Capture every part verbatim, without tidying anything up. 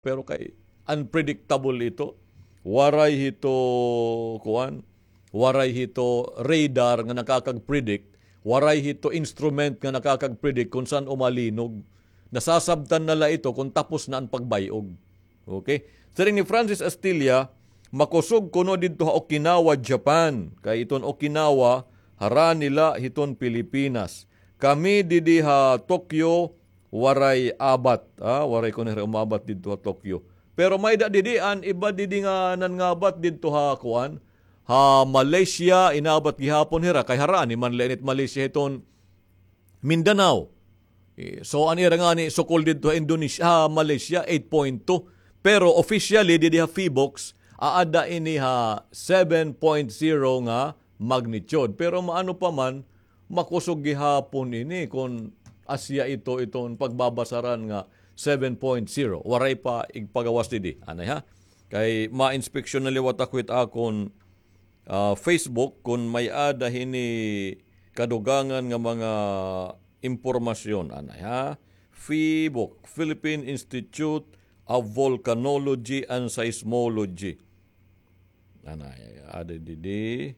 Pero kay unpredictable ito. Waray hito, kuan, waray hito radar nga nakakag-predict, waray hito instrument nga nakakag-predict kon san-o malinog. Nasasabtan na la ito kon tapos na an pagbay-og. Okay? Siring ni Francis Astilla, makusog kuno didto ha Okinawa, Japan. Kay iton Okinawa, harani la hiton Pilipinas. Kami didi ha Tokyo, waray abat. Ah, waray kuno hira umabat didto ha Tokyo. Pero may-ada didi an iba didi nga nangabat didto ha kuan, ha Malaysia, inabat gihapon hira. Kay harani man la ini it Malaysia hiton Mindanao. Eh, so, an ira ngani sukol didto ha Indonesia, ha Malaysia, eight point two. Pero officially, didi ha PHIVOLCS, aada ini ha seven point zero nga magnitude. Pero maano pa man, makusog gihapon ini kon asya ito, iton pagbabasaran nga seven point zero. Waray pa igpagawas didi. Anay ha? Kay ma-inspeksyon na liwat ako hit akon ah, Facebook kon may-ada hini kadugangan nga mga impormasyon. Anay, ha? PHIVOLCS, Philippine Institute of Volcanology and Seismology. Anay, ada didi.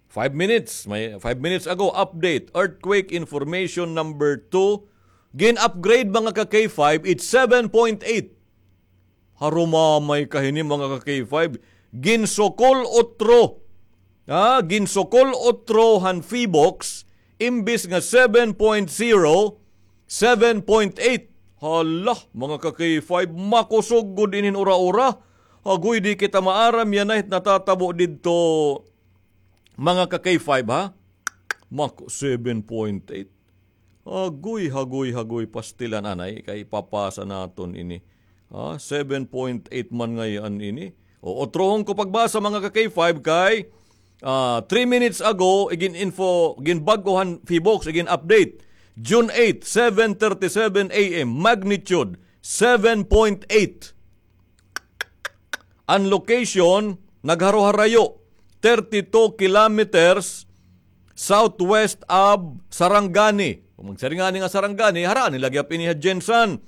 Five minutes, may, five minutes ago, update, earthquake information number two. Gin-upgrade, mga ka-K five, it's seven point eight. Harumamay ka hini, mga ka-K five. Ginsukol utro. Ha? Ginsukol utro han PHIVOLCS, imbis nga seven point zero, seven point eight. Hala, mga ka-K five, makusog gud ini hin ura-ura. Agoy, di kita maaram yana it natatabo didto, mga ka-K five, ha? Mako, seven point eight. Agoy, hagoy, hagoy, pastilan, anay, kay papasa naton ini. Ha, seven point eight man ngay-an ini. O, utrohon ko pagbasa, mga ka-K five, kay, ah, three minutes ago, igin-info, ginbag-o han PHIVOLCS, igin-update. June eight, seven thirty-seven A M, magnitude seven point eight. An location, nagharoharayo, thirty-two kilometers southwest of Sarangani. Kon magsiring ngani nga Sarangani, harani la gihap ini ha GenSan.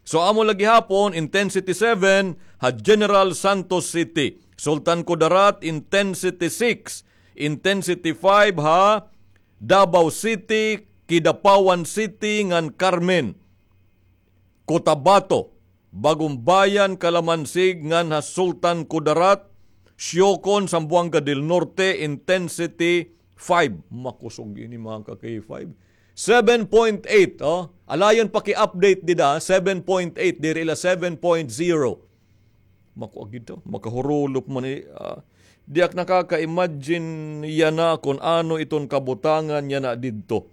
So, amo la gihapon, intensity seven ha General Santos City. Sultan Kudarat, intensity six. Intensity five ha Davao City, Kidapawan City, ngan Carmen. Cotabato, Bagumbayan, Calamansig, ngan ha Sultan Kudarat, Siocon, Zamboanga del Norte, intensity five. Makusog ini, mga ka-K five. Seven point eight, oh. Alayon paki-update dida, seven point eight, diri la seven point zero. Makuha gid to, makahurulop man, eh, ah, di ak nakaka-imagine yana kon ano iton kabutangan yana didto.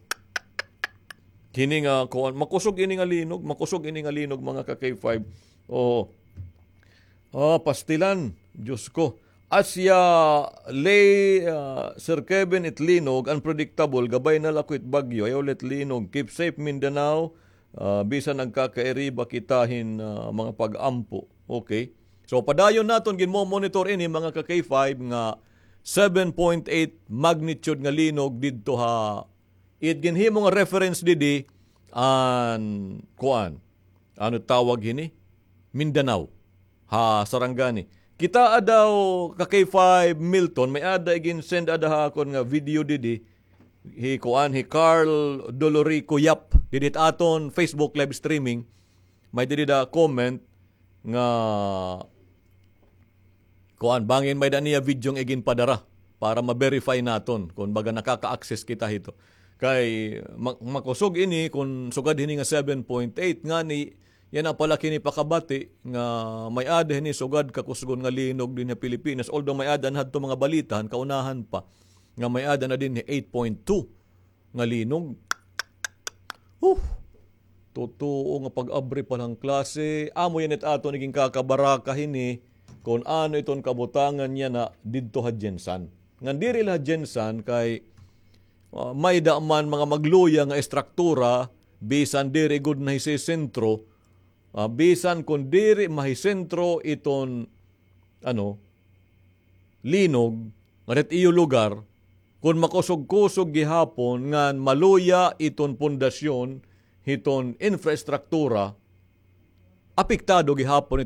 Kini nga, kuan, makusog ini nga linog, makusog ini nga linog, mga ka-K five. Oo. Ah, pastilan, Diyos ko. Asya, lay, ah, Sir Kevin, it linog, unpredictable, gabay na la ko it bagyo, ayaw la it linog. Keep safe, Mindanao. Ah, bisan nagkakairiba kita hin, ah, mga pag-ampo. Okay. So, padayon naton ginmo-monitor ini, mga ka-K five, nga seven point eight magnitude nga linog didto ha, it ginhimo nga reference didi, an, kuan, ano tawag hini? Mindanao. Ha Sarangani. Kita daw ka-K five Milton, may-ada igin-send ada ha akon nga video didi. Hi kuan, hi Carl Dolorico Yap. Didi ha aton Facebook live streaming. May didi da comment nga kuan, bangin may-ada niya video nga iginpadara para ma-verify naton kon baga nakaka-access kita hito. Kay ma-, makusog ini kon sugad hini nga seven point eight ngani, yana pala kini pakabati nga may-ada hini sugad kakusgon nga linog dinhi ha Pilipinas. Although may-ada na hadto mga balita han kaunahan pa nga may-ada na dinhi eight point two nga linog. Huh! Totoo nga pag-abri pa la han klase. Amo yana it aton iginkakabaraka hini kon ano iton kabutangan yana didto ha GenSan. Ngan diri la ha GenSan kay, ah, may-ada man mga magluya nga estruktura, bisan diri gud nahisisentro, ah, bisan kon diri mahisentro iton, ano, linog nga didto ha iyo lugar, kon makusog-kusog gihapon ngan maluya iton pundasyon hiton infrastruktura, Apektado gihapon